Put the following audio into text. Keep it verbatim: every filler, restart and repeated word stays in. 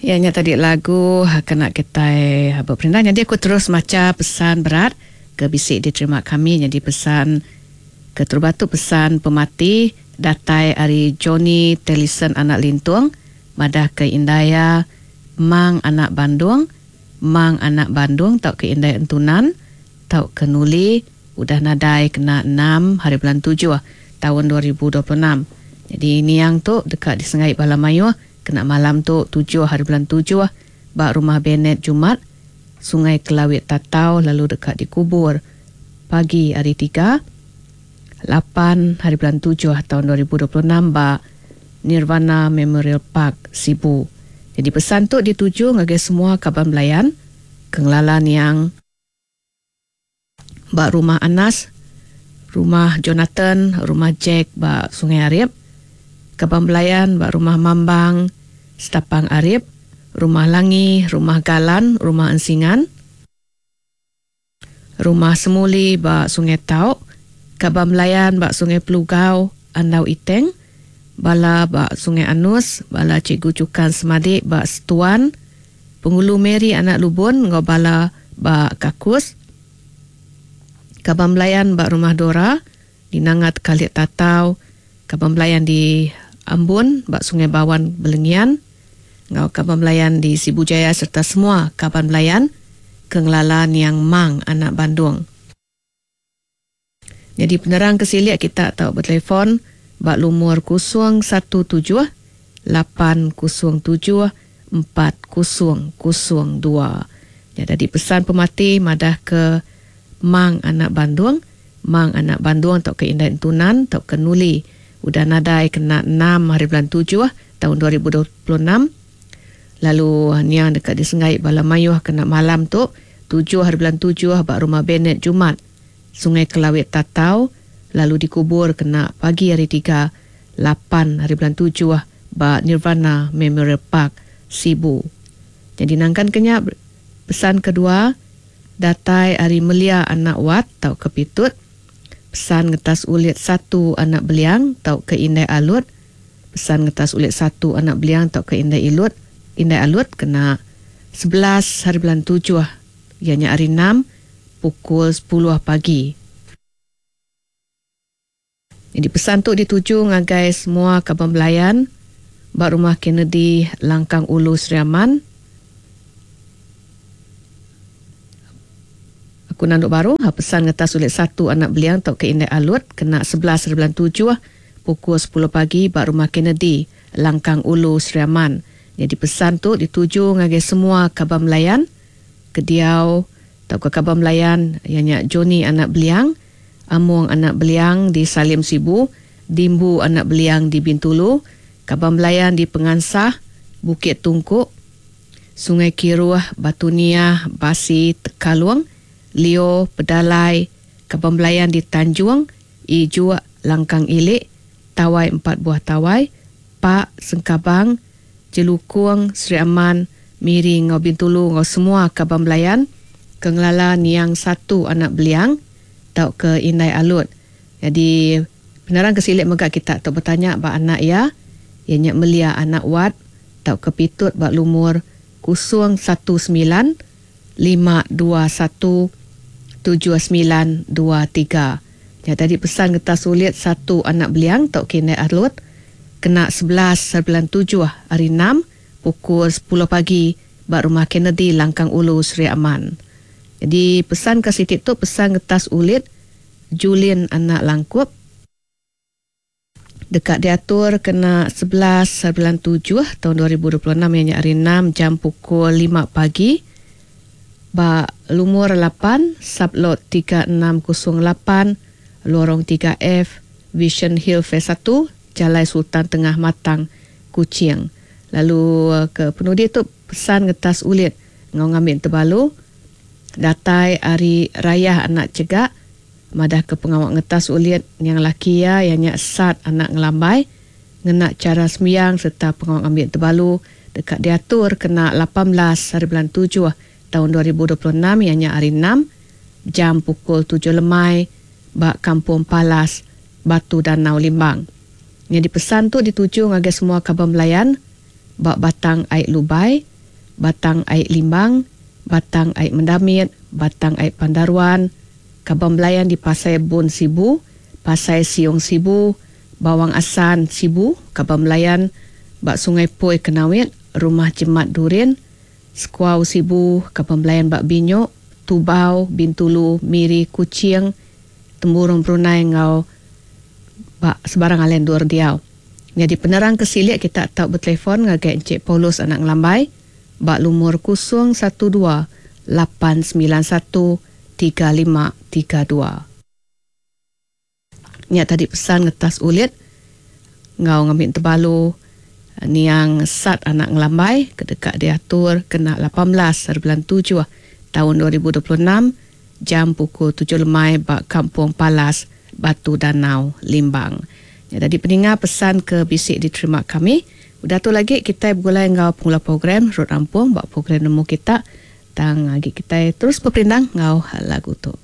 Ya nya tadi lagu kena kitai beperindang. Jadi aku terus macha pesan berat ke bisi diterima kami. Jadi pesan keterubah tu pesan pemati datai ari Johnny Tellison anak Lintung madah ke Indaya Mang anak Bandung, Mang anak Bandung tau ke Indai Entunan tau ke Nuli udah nadai kena enam hari bulan tujuh tahun dua ribu dua puluh enam. Jadi niang tu dekat disengai bala mayuh kena malam tu tujuh hari bulan tujuh ba rumah Bennett Jumat Sungai Kelawit Tatau, lalu dekat dikubur pagi hari tiga lapan hari bulan tujuh tahun dua ribu dua puluh enam ba Nirvana Memorial Park Sibu. Jadi pesan tu dituju ngagai semua kaban belayan kengelalan yang ba rumah Anas, rumah Jonathan, rumah Jack ba Sungai Arip, kaban belayan ba rumah Mambang, Setapang Arip, rumah Langi, rumah Galan, rumah Ensingan, rumah Semuli ba Sungai Tau, kaban belayan ba Sungai Pelugau, Andau Iteng, bala ba Sungai Anus, bala Cikgu Cukan Semadik ba Setuan, Penghulu Mary anak Lubun ngau bala ba Kakus, kaban belayan ba rumah Dora di Nangat Kalit Tatau, kaban belayan di Ambun ba Sungai Bawan Belengian, ngau kaban belayan di Sibu Jaya serta semua kaban belayan kengelalan yang Mang anak Bandung. Jadi penerang kesiliak kita tahu bertelefon bak lumur kosong satu tujuh lapan kosong tujuh empat kosong kosong dua. Jadi pesan pemati madah ke Mang anak Bandung, Mang anak Bandung atau ke Indai Entunan atau ke Nuli udah nadai kena enam hari bulan tujuh tahun dua ribu dua puluh enam. Lalu niang dekat di Sengai bala mayuh kena malam tu tujuh hari bulan tujuh bak rumah Bennett Jumat Sungai Kelawit Tatau, lalu dikubur kena pagi hari tiga lapan hari bulan tujuh bak Nirvana Memorial Park Sibu. Jadi nangkan kenya pesan kedua datai ari Melia anak Wat tau ke Pitut, pesan ngetas ulit satu anak Beliang tau ke Indai Alut, pesan ngetas ulit satu anak Beliang tau ke Indai Ilut, Indai Alut kena sebelas hari bulan tujuh ianya hari enam pukul sepuluh pagi. Jadi pesan tu dituju ngagai semua kaban belayan ba rumah Kennedy Langkang Ulu Sri Aman. Aku nanduk baru pesan ngetas ulit satu anak Beliang tau ke Indai Alut kena sebelas hari bulan tujuh pukul sepuluh pagi ba rumah Kennedy Langkang Ulu Sri Aman. Jadi pesan tu dituju ngagai semua kaban belayan kediau tau ke kaban belayan ianya Johnny anak Beliang, Among anak Beliang di Salim Sibu, Dimbu anak Beliang di Bintulu, kaban belayan di Pengansah, Bukit Tungkuk, Sungai Kiruh, Batu Niah, Basi, Tekalung, Leo, Pedalai, kaban belayan di Tanjung, Ijuk, Langkang Ilik, Tawai Empat Buah Tawai, Pak, Sengkabang, Jelukung, Sri Aman, Miri, Ngau Bintulu, ngau semua kaban belayan kengelala niang satu anak Beliang tau ke Indai Alut. Jadi penerang kesilik megak kita tau bertanya ba anak ya, ianya Melia anak Wat tau ke Pitut ba lumur kosong satu sembilan lima dua satu tujuh sembilan dua tiga. Ya, tadi pesan getah sulit satu anak Beliang tau ke Indai Alut kena sebelas bulan tujuh hari enam pukul sepuluh pagi ba rumah Kennedy Langkang Ulu Sri Aman. Jadi pesan ke sitik tu pesan ngetas ulit Julian anak Langkup dekat diatur kena sebelas bulan tujuh tahun dua ribu dua puluh enam ianya hari enam jam pukul lima pagi ba lumur lapan sublot tiga enam kosong lapan lorong tiga F Vision Hill Phase satu Jalai Sultan Tengah Matang Kuching. Lalu ke penudi tu pesan ngetas ulit ngau ngambil terbalu datai hari raya anak cegak madah ke pengawak ngetas ulit yang laki ya ianya sat anak ngelambai ngena cara sembiang serta pengawak ngambil terbalu dekat diatur kena lapan belas hari bulan tujuh tahun dua ribu dua puluh enam ianya hari enam jam pukul tujuh lemai bak Kampung Palas Batu Danau Limbang. Yang dipesan tu dituju ngagai semua kaban belayan bak Batang Aik Lubai, Batang Ai Limbang, Batang Ai Mendamit, Batang Ai Pandaruan, Kaban Belayan di Pasai Bun Sibu, Pasai Siong Sibu, Bawang Assan Sibu, Kaban Belayan ba Sungai Poi Kenawit, Rumah Jemat Durin, Sekuau Sibu, Kaban Belayan ba Binyok, Tubau, Bintulu, Miri, Kuching, Temburong Brunei ngau ba sebarang alai endur diau. Nyadi penerang ke silik kita tau bertelefon ngagai Encik Paulus anak Ngelambai ba lumur kosong satu dua lapan sembilan satu tiga lima tiga dua. Nya tadi pesan ngetas ulit ngau ngambil tebalu niang Sat anak Ngelambai kedekat diatur kena lapan belas hari bulan tujuh tahun dua ribu dua puluh enam jam pukul tujuh lemai ba Kampung Palas Batu Danau Limbang. Ya, tadi peninga pesan ke bisik diterima kami. Udah tu lagi kita bergulai ngau penggula program Rot Rampung ba program nemu kita. Tang lagi kita terus berperindang ngau lagu tu.